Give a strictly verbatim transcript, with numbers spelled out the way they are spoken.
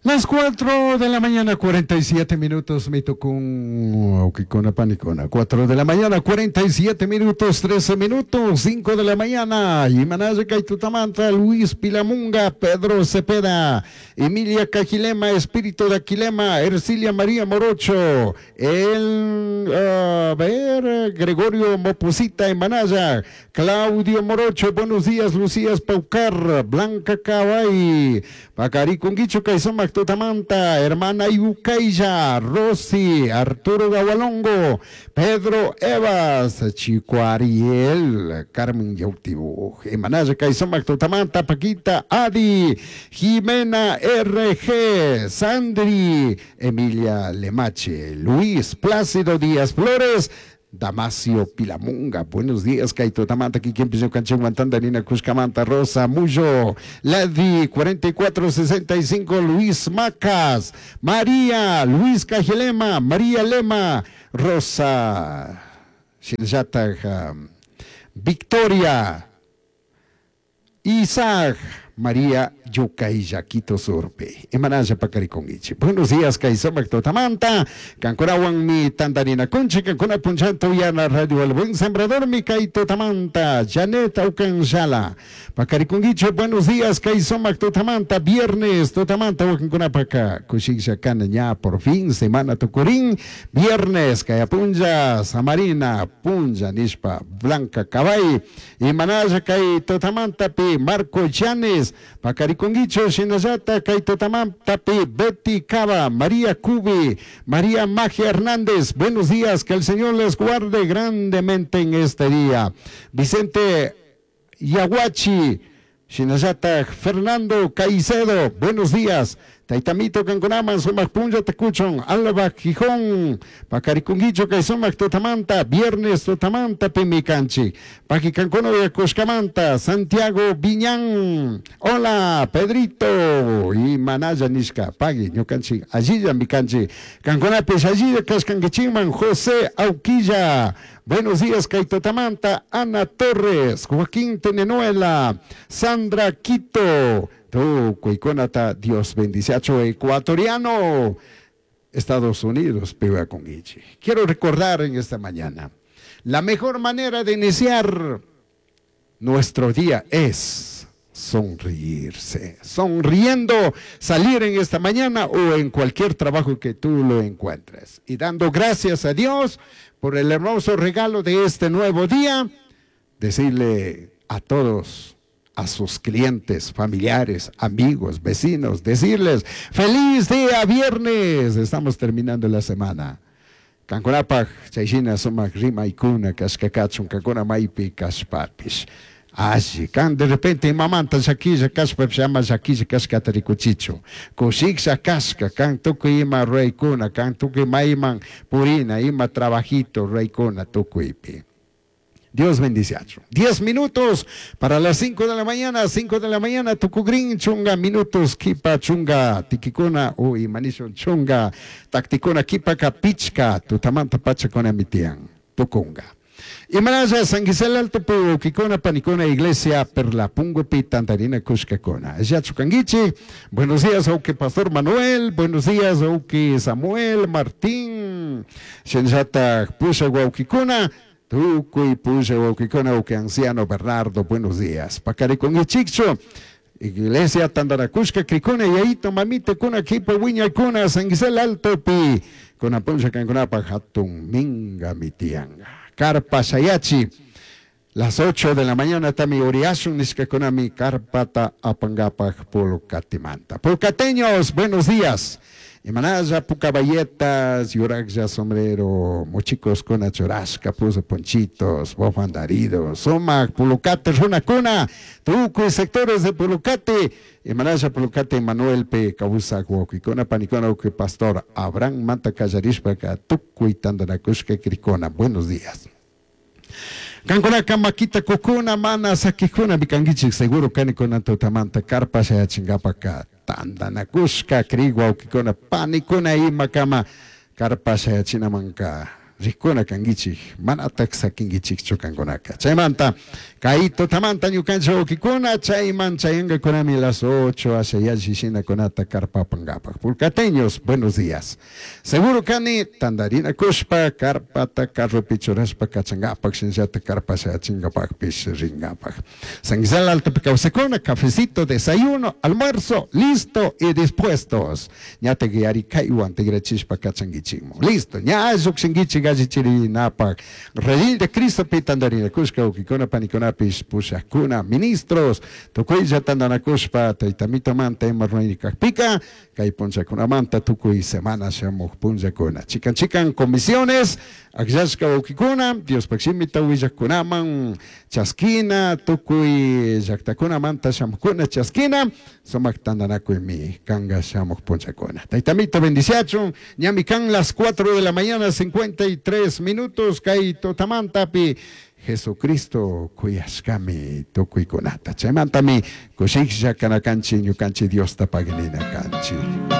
Las cuatro de la mañana, cuarenta y siete minutos, me tocó un panicona. cuatro de la mañana, cuarenta y siete minutos, trece minutos, cinco de la mañana. Imanaya Kaitutamanta, Luis Pilamunga, Pedro Cepeda, Emilia Cajilema, Espíritu de Aquilema, Ercilia María Morocho, el, a ver, Gregorio Mopusita Emanaya, Claudio Morocho, buenos días, Lucías Paucar, Blanca Cabay, Pacariconguicho Kaisumac Tutamanta, hermana Ibucaya, Rosy, Arturo Gawalongo, Pedro Evas, Chico Ariel, Carmen Yautibu, Emanaya Kaisumac Tutamanta, Paquita Adi, Jimena R G, Sandri, Emilia Lemache, Luis Plácido Díaz Flores, Damasio Pilamunga, buenos días, Kaito Tamanta, Kikin Canchimantanda, Nina Cuscamanta, Rosa Muyo, Ladi cuarenta y cuatro sesenta y cinco, Luis Macas, María, Luis Cajilema, María Lema, Rosa, Shilzata, Victoria, Isaac, María Yucaylla, Quito Surpe. Imanalla pacariconguichi. Buenos días, Kaisomac Totamanta. Cancunawan mi tandarina conchi, Cancuna Punchanto Yana Radio El Buen Sembrador, mi Kaito Tamanta, Janet Aucanshala. Pacariconguicho, buenos días, Kaisomac Totamanta, viernes, Totamanta, Wakinkunapaka, Kushisha Kanaña, por fin, semana tucurín, viernes, Kayapunja, Samarina, Punja, Nishpa, Blanca Cabay, Imanalla Kai Totamanta, Pi, Marco Llanes, Pacariconguicho, Shinayata, Kaitotamantapi, Betty Cava, María Cubi, María Magia Hernández, buenos días, que el Señor les guarde grandemente en este día. Vicente Yaguachi, Shinayata, Fernando Caicedo, buenos días. Taitamito kankunaman sumak punlla takuchon, Alba Gijón, Pacaricunguicho Kaysumak Tutamanta, viernes Tutamanta Pimicanchi, Paquicancono de Cuscamanta, Santiago Viñán, hola Pedrito, y Manaya Nishka, Pagui, Ñukanchi, Allilla Micanchi, Canconapes, Allilla Cascanguichiman, José Auquilla, buenos días Kaitotamanta, Ana Torres, Joaquín Tenenuela, Sandra Quito, Tucuycunata, Dios bendice ecuatoriano, Estados Unidos, Guichi. Quiero recordar en esta mañana, la mejor manera de iniciar nuestro día es sonreírse, sonriendo, salir en esta mañana o en cualquier trabajo que tú lo encuentres. Y dando gracias a Dios por el hermoso regalo de este nuevo día, decirle a todos, a sus clientes, familiares, amigos, vecinos, decirles: "Feliz día viernes, estamos terminando la semana". Kankunapaj chayshina sumak rimaykuna kashkakachun kankuna maypi kashpapish. Alli, kan de repente imamanta llakilla kashpapish ama llakilla kashkata rikuchichu. Kushiklla kashka, kan tukuy ima ruraykuna, kan tukuy mayman purina, ima trabajito ruraykuna tukuypi. Dios bendice. Diez minutos para las cinco de la mañana, cinco de la mañana, tukugrin, chunga minutos, kipa chunga, tikikuna, uy, manishon chunga, taktikuna, kipa kapichka, tutamanta pachakuna mitian, tukunga. Imanalla San Gisela Alto Kikona Panicona Iglesia Perla Pungo Tantarina Kushkakona. Yachukanguichi, buenos días, Auque Pastor Manuel, buenos días, Auque Samuel Martín, Shenjata Pusha Guauquicona. Tukuy Pusha Guauquicona, Auque Anciano Bernardo, buenos días. Pacariconguichicho. Iglesia Tandaracushka, Cricuna, Yaito, Mamita, Kuna, Kipa, Wiña, Kuna, San Gisela Alto, Pi, Kunapuncha, Canconapa, Hatun, Minga, Mitianga. Carpa Shayachi. Las ocho de la mañana tami uriashun nishkakunami carpata apangapaj pulcatimanta. Pulcateños, buenos días. Imanalla pucabayetas, yuragya sombrero, mochicos con chorasca, puso ponchitos, bofandaridos, sumac, pulucate, runacuna, tucu sectores de Pulucate, Imanalla Pulucate, Manuel P. Causa, Guaquicona, Panicona, que Pastor Abraham Manta Callarishpa, Tucu y Tandanacushka, Cricona. Buenos días. Kankunaka makita kukuna mana sakikuna mikankichik seguro kanikuna tutamanta karpa shayachingapaka tandanakushka kriq wawkikuna panikuna imakama karpa shayachinamanka rikuna kankichik manatak sakinkichikchu kankunaka chaymanta Kay tutamanta ñukanchik wawkikuna chayman chayankakunami las ocho asha yalli shinakunata karpapankapak. Pulcateños, buenos días. Seguro kani tandarinakushpa karpata carropi churashpa kachankapak shinallata karpa shayachinkapakpish rinkapak. San Miguel Altopi kawsakuna, cafecito, desayuno, almuerzo, listo y dispuestos. Ñatak yarikaywan tigrachishpa kachankichikmun. Listo, ña llukshinkichik allichirinapak. Redil de Cristopi tandarinakushka wawkikuna panikunapish pushakuna, ministros, tukuylla tandanakushpa taytamitomanta ima rurayni kakpika, kay punllakunamanta tukuy semana shamuj punllakuna. Chikan chikan comisiones, akllashka wawkikuna, Diospak shimita willakkunaman chaskina, tukuy llaktakunamanta shamukuna chaskina, sumak tandanakuymi kanka shamuj punllakuna. Taytamito bendiciachun, ñami kan las cuatro de la mañana, cincuenta y tres minutos, kay tutamantapi Jesucristo kuyashkami tukuykunata. Chaymantami kushiklla kanakanchik ñukanchik Diosta paginina kanchik.